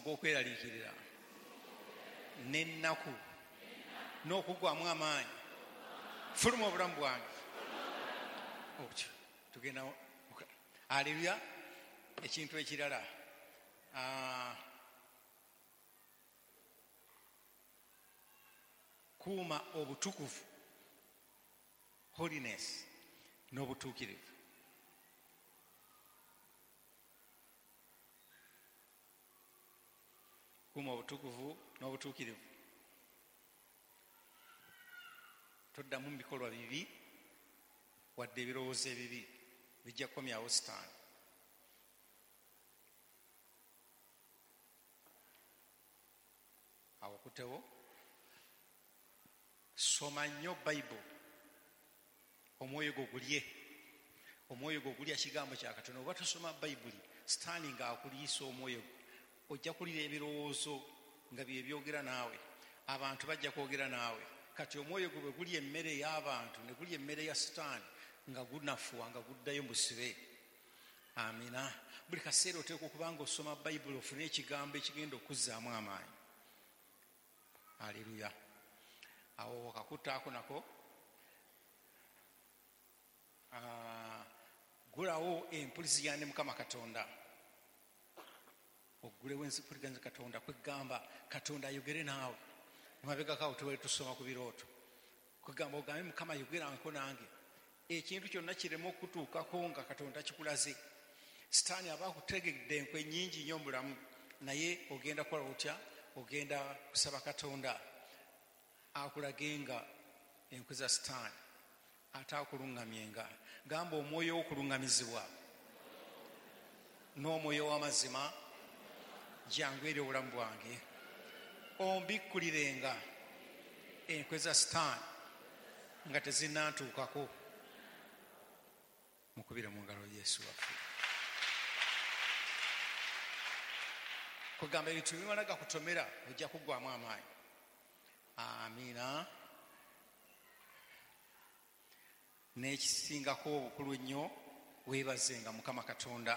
Ogw'okweraliikirira n'ennaku n'okuggwamu amaanyi, fuluma obulamu bwange. Otyo tugenda. Aleluya. Ekintu ekirala, kuuma obutukuvu, holiness, n'obutuukirivu. Kuuma obutukuvu n'obutuukirivu. Toddamu mu bikolwa bibi wadde ebirowoozo ebibi, bijja kukomyawo Sitaani. Awo okutewo, soma nnyo Bayibuli, omwoyo gwo gulye, omwoyo gwo gulya kigambo kya Katonda. Oba tosoma Bayibuli, Sitaani ng'akuliisa omwoyo gwo, ojja kulira ebirowoozo nga bye byogera naawe, abantu bajja kwogera naawe. Kati omwoyo gwo bwe gulya emmere y'abantu ne gulya emmere ya Sitaani, nga gunafuwa, nga guddayo mu busibe. Amina. Buli kaseera oteekwa okuba nga osoma Bayibuli, ofune ekigambo ekigenda okuzzaamu amaanyi. Aleluya. Awo wakakutaako nako, gulawo empuliziganya ne Mukama Katonda. Oggulewo empuliziganya ne Katonda, kwegamba Katonda ayogere naawe. Emabegako awo tubadde tusoma ku birooto, kwegamba ogambe Mukama ayogeranko nange, ekintu kyonna kireme okutuukako nga Katonda kikulaze. Sitaani aba akutegedde enkwe nnyingi nnyo mu bulamu, naye ogenda kukola otya? Ogenda kusaba Katonda akulagenga enkwe za Sitaani, ate akuluŋŋamyenga. Gamba omwoyo w'okuluŋŋamizibwa n'omwoyo w'amazima jangu eri obulamu bwange, ombikkulirenga enkwe za Sitaani nga tezinnantuukako. Mukubire mu ngalo Yesu waffe. Kugamba ebintu bimala gakutomera, ojja kuggwamu amaanyi. Amiina. N'ekisingako obukulu ennyo, weebazenga Mukama Katonda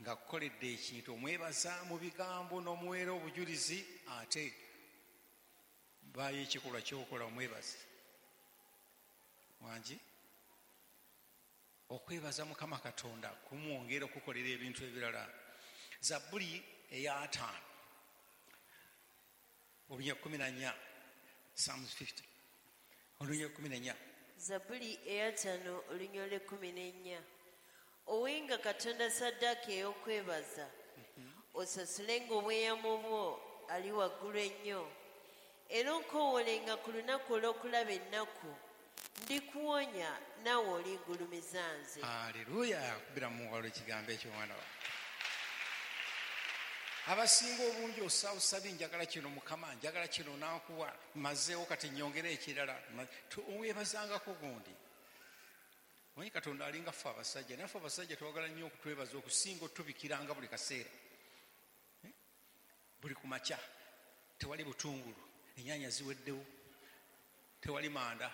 ng'akukoledde ekintu. Omwebaza mu bigambo n'omuweera obujulizi, ate baayo ekikolwa ky'okola omwebaze. Wangi okwebaza Mukama Katonda kumwongera okukolera ebintu ebirala. Zabbuli eya 50 olunya 14, Psalms 50 olunya 14. Zabbuli eya 50 olunya olw'e 14. Owenga Katonda saddaaka ey'okwebaza, osasulenga obweyamo bwo ali waggulu ennyo, era onkoowolenga ku lunaku olw'okulaba ennaku, ndikuwonya naawe olingulumiza nze. Aleluya. Kubira mu ngalo ekigambo ekyo, mwana wange. Abasinga obungi osaabusabi, njagala kino Mukama, njagala kino, nankuwa mazeewo, kati nyongere ekirala. Weebazangako gundi. Omanyi Katonda alinga ffe abasajja, naye ffe abasajja twagala nnyo okutwebaza okusinga otubikiranga buli kaseera. Buli ku makya tewali butungulu, ennyanya ziweddewo, tewali manda,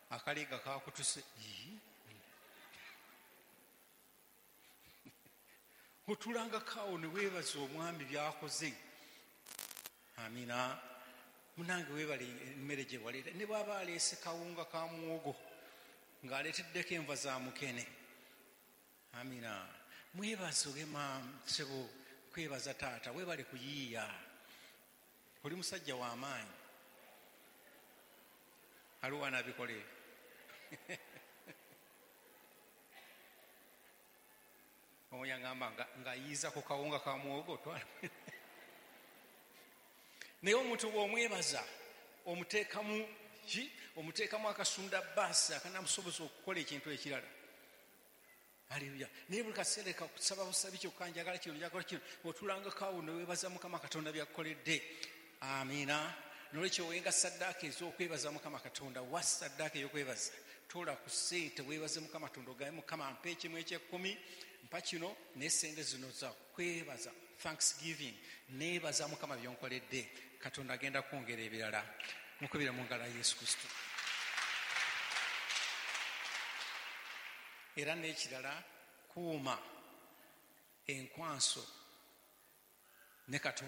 akaliga kakutuse. Otulangako awo ne weebaza omwami byakoze. Amina. Munange weebale emmere gye waleeta, ne bw'aba aleese kawunga ka muwogo ng'aleeteddeko enva za mukene. Amina. Mwebaze, ogema ssebo, kwebaza taata, weebale kuyiiya, oli musajja w'amaanyi. Aliwo anaabikola ebyo? Omu yagamba ng'ayiiza ku kawunga ka muwogo twala. Naye omuntu bw'omwebaza omuteekamu ki? Omuteekamu akasunda baasi akanamusoboza okukola ekintu ekirala. Aleluya. Naye buli kaseera kakusaba busabi kyokka, njagala kino, njagala kino, otulangako awo ne weebaza Mukama Katonda byakkoledde. Amiina. Nolwekyo owenga saddaaka ez'okwebaza Mukama Katonda. Wa saddaaka ey'okwebaza, tola ku ssente weebaze Mukama Katonda, ogambe Mukama mpa ekimu eky'ekkumi, mpa kino, naye sente zino za kwebaza, thanksgiving, neebaza Mukama byonkoledde. Katonda agenda kwongera ebirala. Mukubire mu ngalo Yesu Kristo. Era n'ekirala, kuuma enkwanso ne Katonda.